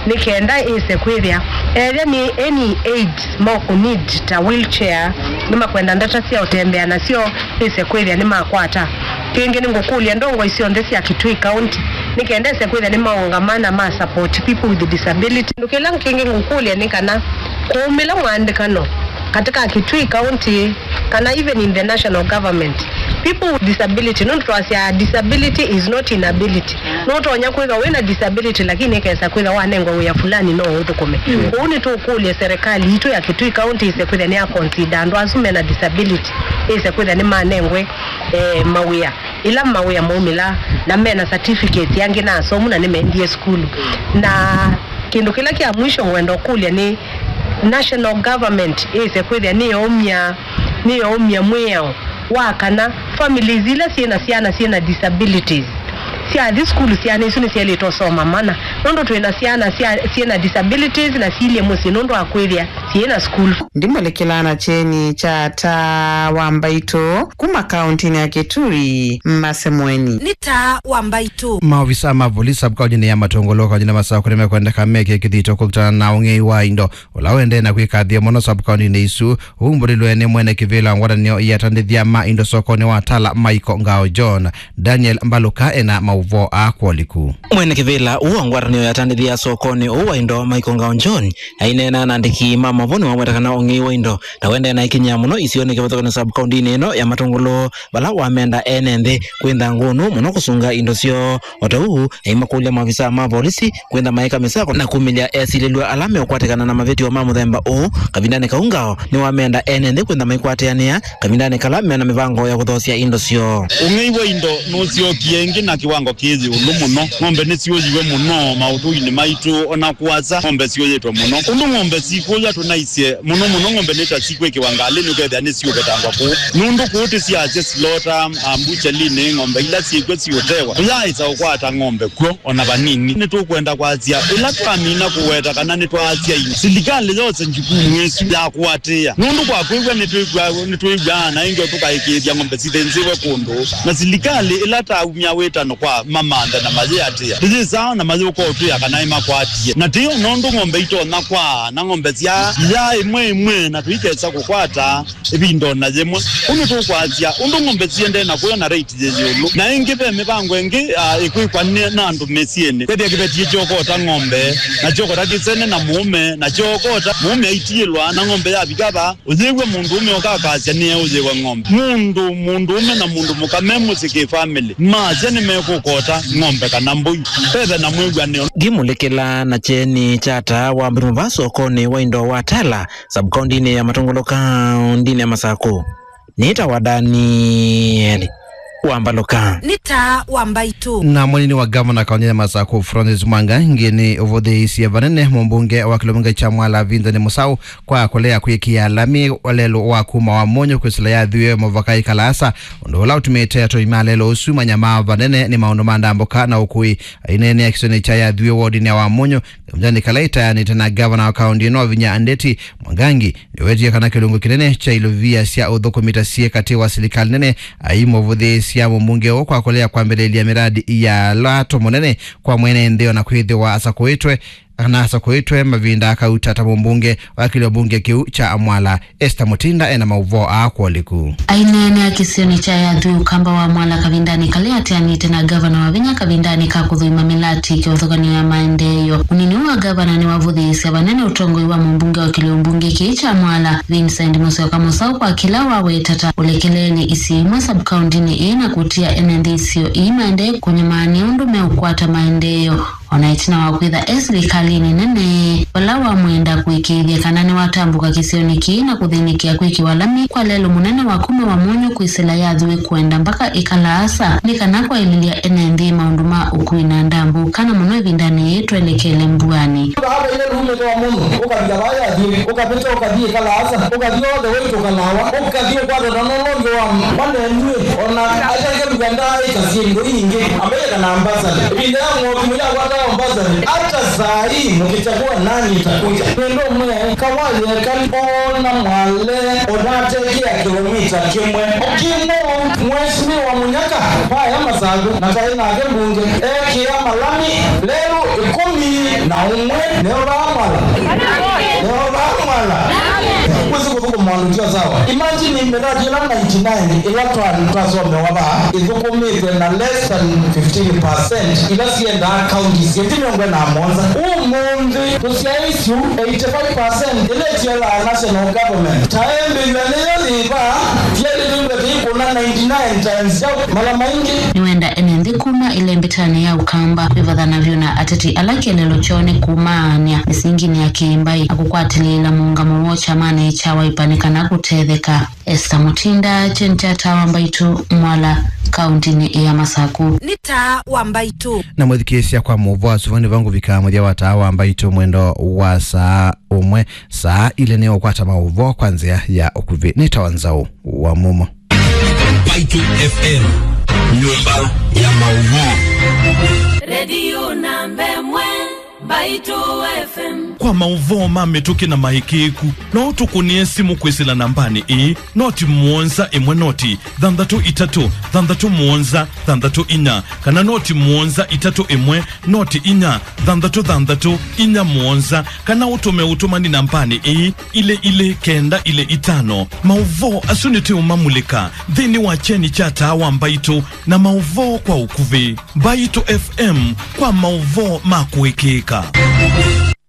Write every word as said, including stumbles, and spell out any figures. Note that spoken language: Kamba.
Nĩ kenda ĩse kwĩthĩa ethĩa nĩ any aids mokũnid ta wheelchair, nĩmakwenda ndata sya ũtembea nasyo, ĩse kwĩthĩa nĩmakwata. Kĩngĩ nĩngũkũlya ndongoi syonthe sya Kitui County nĩ kenda ĩse kwĩthĩa nĩmaũngama na ma support people with disability. Kĩndũ kĩla kĩngĩ ngũkũlya nĩ kana kũumĩla mũandĩkano katika Kitui County kana even in the national government, people with disability, nũndũ twasya disability is not inability. Nũtonya kwĩthwa wĩna disability lakini ĩkesa kwĩthwa wanengwa wĩa fulani no ũthũkũme. Kwoou nĩtũkũlya serikali itũ ya Kitui County ĩse kwĩthĩa nĩ ya consider andũ asu mena disability, ĩse kwĩthĩa nĩmanengwe eh, mawĩa, ila mawĩa maumĩla, na mena certificates angĩ na asomu na nĩmendie sukulu. Na kĩndũ kĩla kya mwisho ngwenda ũkũlya nĩ national government ĩse kwĩthĩa nĩyaumya, nĩyaumya mwĩao wa kana families ila syĩna syana syĩna disabilities syathi sukulu, syana isu nĩsyaĩlĩte ũsoma mana, nũndũ twĩna syana sya, syĩna disabilities na silye mũsyĩ nũndũ wa kwĩthĩa syĩna sukulu. Ndimũlĩkĩla na kyeni kya ata wa mbaitũ kuma kaũntĩnĩ ya Kitui, Masemweni. Nĩ taa wa mbaitũ. Maovisa ma volisi sub-kaũntĩnĩ ya Matũngũlũ kaũntĩnĩ ya Masakũ nĩmekwendeka meke kĩthito kũkitana na ũng'ei wa indo ũla ũendee na kwĩkathĩa mũno sub-kaũntĩnĩ isu. Ũu mbũlĩlwe nĩ mwene kĩvĩla wa ngwatanĩo ya atandĩthya ma indo sokonĩ wa Tala, Michael Ngao John. Daniel Mbaluka ena maũvoo aa kwoliku. Mwene kĩvĩla ũũ wa ngwatanĩo ya atandĩthya sokonĩ ũũ wa indo, Michael Ngao John, aineena na andĩki ma maũvoo nĩwaweta kana ũng'ei wa indo ta ũendee na ĩkinyĩa mũno isionĩ kĩvathũkany'o sub-kaũntĩnĩ ĩno ya Matũngũlũ, vala wamenda ene nthĩ kwĩtha ngũnũ mũno kũsunga indo syoo. O ta ũu, aimakũlya maovisaa ma volisi kwĩtha maĩka mĩsako na kumĩlya esilĩlw'a ala meũkwatĩkana na mavĩtyo ma mũthemba ũũ. Kavindanĩ kau Ngao nĩwamenda ene nthĩ kwĩtha maikwatĩanĩa kavindanĩ kala mena mĩvango ya kũthoosya indo syoo. Ũng'ei wa indo nũsyokie ĩngĩ na kĩwango kĩ ĩũlũ mũno. Ng'ombe nĩsyũyiwe mũno maũthũinĩ maitũ, o na kũasa ng'ombe syũyĩtwe mũno. Ũndũ ng'ombe sikũya tũnaisye mũno mũno, ng'ombe nĩ ta sikwĩkĩwa ngalĩnĩ, ũkethĩa nĩsiũvetangwa kũu. Nũndũ kũu tĩsyasya silota, ah, mbuchalinĩ, ng'ombe ila syĩkw'o siũtewa. Tũyaaĩsa ũkwata ng'ombe kw'o o na vanini. Nĩtũkwenda kwasya, ĩla twamina kũweta kana nĩtwaasya indo, silikalĩ yose njukumu ĩsu ya kũatĩĩa. Nũndũ kwa kwĩw'a nĩtwĩw'aa, nĩtwĩw'aa na ĩngĩ tũkaĩkĩĩthya ng'ombe sithĩnzĩwe kũndũ. Na silikalĩ ĩla taumya wĩtano kwa mamanthe na mayĩatĩĩa, tũyĩsaa na mayũka ũtwĩa kana nĩmakwatie. Na tĩyo nũndũ ng'ombe itonya kwaa na ng'ombe sya iyaa ĩmwe ĩmwe na tũikesa kũkwata ĩvinda o na yĩmwe. Ũndũ tũkwasya, ũndũ ng'ombe siendee na kũya na rate yĩ ĩũlũ, na ĩngĩ ve mĩvango ĩngĩ, ah, ĩkwĩkwa nĩ, na andũ mĩsyĩnĩ. Kwĩthĩa kĩveti kyookota ng'ombe, na kyookota kĩsene na mũũme, na kyookota mũũme aitiĩlwa, na ng'ombe yavika va, ũyĩw'a mũndũũme ũkakasya nĩeũyĩwe ng'ombe. Mũndũ, mũndũũme na mũndũ mũka me mũsyĩ kĩ family, masya nĩmekũkota ng'ombe kana mbũi, vethe na mwĩw'anĩo. Ngimũlĩkĩla na kyeni kya taa wa mbĩmũ va sokonĩ wa indo wa Tala, sub-kaũntĩnĩ ya Matũngũlũ, kaũntĩnĩ ya Masakũ. Nĩtawa Daniel Wambaluka. Nĩ taa wa mbaitũ. Na mũnini wa gavana kaũntĩnĩ ya Masakũ, Francis Mwangangi, nĩ ũvũthĩĩisye vanene mũmbunge wa kĩlungu kya Mwala, Vincent Mũsaũ, kwa kũlea kwĩkĩa lami lelũ wa kuma Wamũnyũ kwĩsĩla Yathuĩ mũvaka Ĩkalaasa, ũndũ ũla ũtumĩte atũi ma lelũ ũsu manyamaa vanene nĩ maũndũ ma ndambũka na ũkũĩ. Aineenea kĩsionĩ kya Yathuĩ wodinĩ ya Wamũnyũ, kavindanĩ kala ĩtaanĩte na gavana wa kaũntĩ ĩno Wavinya Ndeti, Mwangangi nĩwetie kana kĩlungu kĩnene kya ilovia sya ũthũkũmi ta syĩ katĩ wa silikalĩ nene aimũvũthĩĩsya mũmbunge ũũ kwa kũlea kwambĩlĩlya mĩradi ya lato mũnene kwa mwene nthĩ, o na kwĩthĩwa asakũĩtwe, kana asakũĩtwe mavinda akauta ta mũmbunge wa kĩlio mbunge kĩu kya Mwala. Esther Mutinda ena maũvoo aa kwoliku. Aineenea kĩsionĩ kya Yathuĩ ũkamba wa Mwala kavindanĩ kala ateanĩte na gavana Wavinya kavindanĩ ka kũthũima mĩlati kĩvathũkany'o ya maendeeo, mũnini ũũ wa gavana nĩwavũthĩĩsya vanene ũtongoi wa mũmbunge wa kĩlio mbunge kĩĩ kya Mwala, Vincent Mũsyoka Mũsaũ, kwa kĩla waweta ta ũlekeleelye isio imwe sub-kaũntĩnĩ ĩĩ na kũtia ene nthĩ isio ii maendee kũnyamaa nĩ ũndũ meũkwata maendeeo. O na ĩtina wa kwĩtha e silikalĩnĩ nene, vala wamwenda kũĩkĩĩthya kana nĩwatambũka kĩsionĩ kĩĩ na kũthĩnĩkĩa kwĩkĩwa lami kwa lelũ mũnene wa kuma Wamũnyũ kwĩsĩla Yathuĩ kũenda mbaka Ĩkalaasa, nĩ kana kwaĩlĩlya ene nthĩ maũndũ ma ũkui na ndambũka, na mũno ĩvindanĩ yĩĩ twelekele mbuanĩ. Vaa vaile lumĩte Wamũnyũ, ũkavika vaa Yathuĩ, ũkavĩta, ũkathi Ĩkalaasa, ũkathi all the way to Kalawa, ũkathi ũkwata na ũla ũngĩ wa, wa Nenduĩ, o na atange Luganda ĩkasye indo ingĩ, ambaye kana ambassador. Ĩvinda ya Mwaũthimũ yakwata Ambassador, hata saa hii mkichagua nani itakuja. Nendo mwe kawali ekali ona Mwale onatekea kilomita kimwe. Okimo Mheshimiwa Munyaka paya Masaku na tai nake mbunge ekia malami lelu ikumi na umwe neo vaa Mwala. Neo vaa Mwala. Kwisi kuthuku mwandu tio sawa. Imagine miradi ila ninety-nine ila twa- twasomewa vaa ithukumite na less than fifteen percent ila siendaa counties ĩngĩ mĩongo ĩna na mũonza. Ũmũnthĩ tũsyaĩĩsyu eighty-five percent ila itielaa national government ta embĩw'a nĩyo yĩva, tielĩlĩw'e tĩikũna ninety-nine times syau mala maingĩ. Nĩwenda ene nthĩ kuma ĩlembetanĩ ya Ũkamba kwĩvathana vyũ na ateti ala kĩeleelo kyoo nĩ kũmaany'a mĩsinginĩ ya kĩĩmbaĩ na kũkwatĩlĩĩla mũũngamo woo kyamanĩ kya Wiper nĩ kana kũtetheka. Esther Mutinda, Kyeni kya Taa wa Mbaitũ, Mwala, kaũntĩnĩ ya Masaku. Nĩ Taa wa Mbaitũ. Na mwĩthukĩĩsya kwa maũvoo asu, vau nĩvo ngũvika mũthya wa Taa wa Mbaitũ mwendo wa saa ũmwe. Saa ilĩ nĩ ũkwata maũvoo kwa nzĩa ya ũkuvĩ. Nĩ Taa wa Nzaũ wa Mumo. Mbaitũ F M, nyũmba ya maũvoo. Redio namba ĩmwe. Mbaitũ F M. Kwa maũvoo ma mĩtũkĩ na maĩkĩĩku, no ũtũkũnĩe simũ kwĩsĩla nambanĩ ĩĩ, noti mũonza ĩmwe noti thanthatũ itatũ thanthatũ mũonza thanthatũ inya, kana noti mũonza itatũ ĩmwe noti inya thanthatũ thanthatũ inya mũonza, kana ũtũme ũtũmani nambanĩ ĩĩ, ilĩ ilĩ kenda ilĩ itano. Maũvoo asu nĩtũũmamulĩka nthĩnĩ wa kyeni kya Taa wa Mbaitũ na maũvoo kwa ũkuvĩ. Mbaitũ F M kwa maũvoo ma kũĩkĩĩka.